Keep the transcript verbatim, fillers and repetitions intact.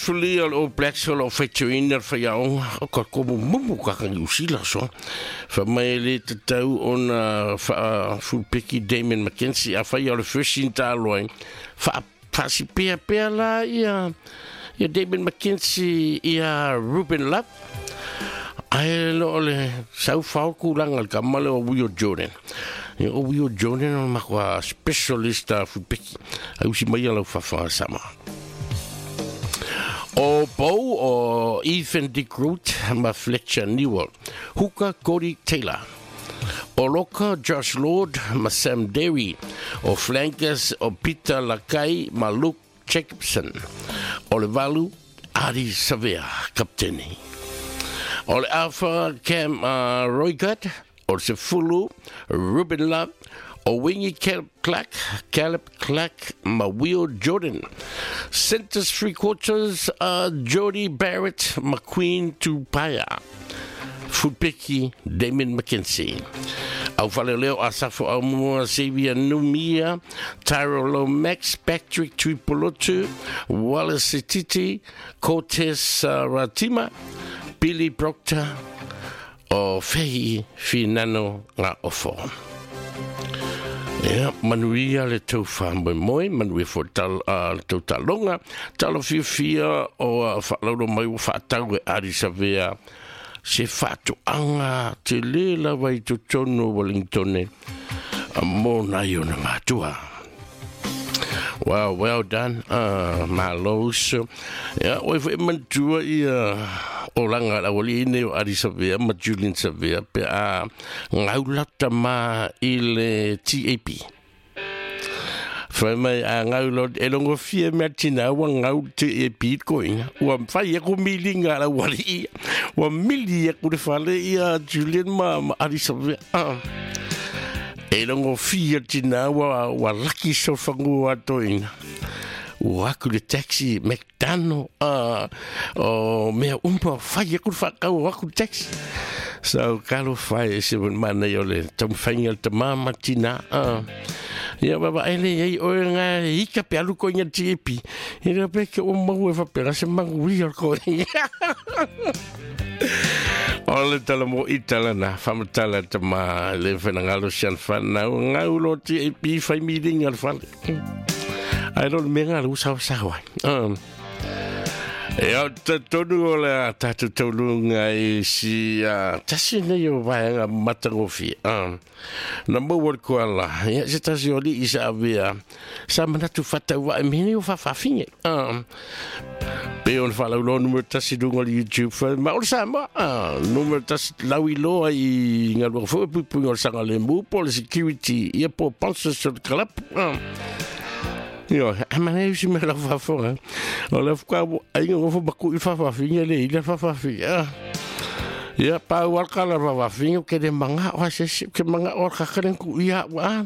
Fulia o le All Blacks o loo faitioina le faiaoga o ka komumumu kaka Niusila so fa mai le tatau ona faafulupeki Damien McKenzie afai o le first taloai fa faasipea pea la ia ia Damien McKenzie ia Ruben Love ae lo o le saufao kulaga le kama le o Will Jordan. Ia o Will Jordan o le makoa specialist a fulupeki ai usi mai ia lau fafa sama. O Bow o Ethan de Groot ma Fletcher Newell. Hooker Cody Taylor. O Loka Josh Lord ma Sam Derry. O Flankers o Peter Lakai ma Luke Jacobson. O le Valu Adi Savea, kapteni. O le Alpha Cam uh, Roigard. O le Sefulu Ruben Love. O Wingy Caleb Clark, Caleb Clark ma Will Jordan. Centers three quarters uh, Jody Barrett McQueen Tupaya. Fulpeki Damien McKenzie. Au Faleleo Asafo Aumua Xavier Numia, Tyrell Lomax, Patrick Tuipolotu, Wallace Titi, Cortez uh, Ratima, Billy Proctor, o Fehi Finano Ngā Ofo. Ia, manuia le tau whamoemoe, manuia fo tal, uh, le tau talonga, talo fiafia o uh, whaalauro mai o whaatau e Ari Savea, se whaatoanga te le lava i totonu o Wellington, a mō nai o na mātua. Well, well done. Uh, malo uso. Ia, oi fo e mantua ia o langa la wali ine o Adi Savea ma Julian Savea pe a ngaulata ma i le T A P. Whai mai a ngaulo e longo fia mea tina ua ngau T A P koinga. Ua whai aku milinga la wali ia. Ua mili aku le whale ia Julian ma, ma Adi Savea. Uh. E longo fia tina ua, ua laki so whangua toina. Ua aku le taxi McDonald uh, o mea umpa whai aku le whakau aku le taxi. So kalo whai e se mana i o le taumwhainga le tamama tina. Uh. Ia baba ele ei oe ngā ika pe alu koinga T A P. E rea pe ke o mau e whapera se mangu i o koinga. O le tala mo i tala na, whamatala ta ma le whenangalo sian whanau, ngau lo T A P whai miringa le whale. Ai lo le menga le usawa sawa. Um, e au te tonu o le a tātou taulunga i si uh, tasi nei o vaenga matangofie. Um, na maua le koala, ia se tasi o li i sa avea, sa manatu whataua e mene o whawhawhinge. Um, pe o le whalaulo numero tasi lunga le YouTube, ma o le Samoa, uh, numero tasi lau i loa i ngalua fo e puipuinga o le sanga le mu, po le security, ia po pansa so le kalap. Um, Io, a mana e usi me lau whafonga. O le whakau, ainga ngofo maku i whawhawhinga le ila whawhawhinga. Ia, pau alkala whawhawhinga, ke le manga o ase, ke manga o kakaren ku ia wa.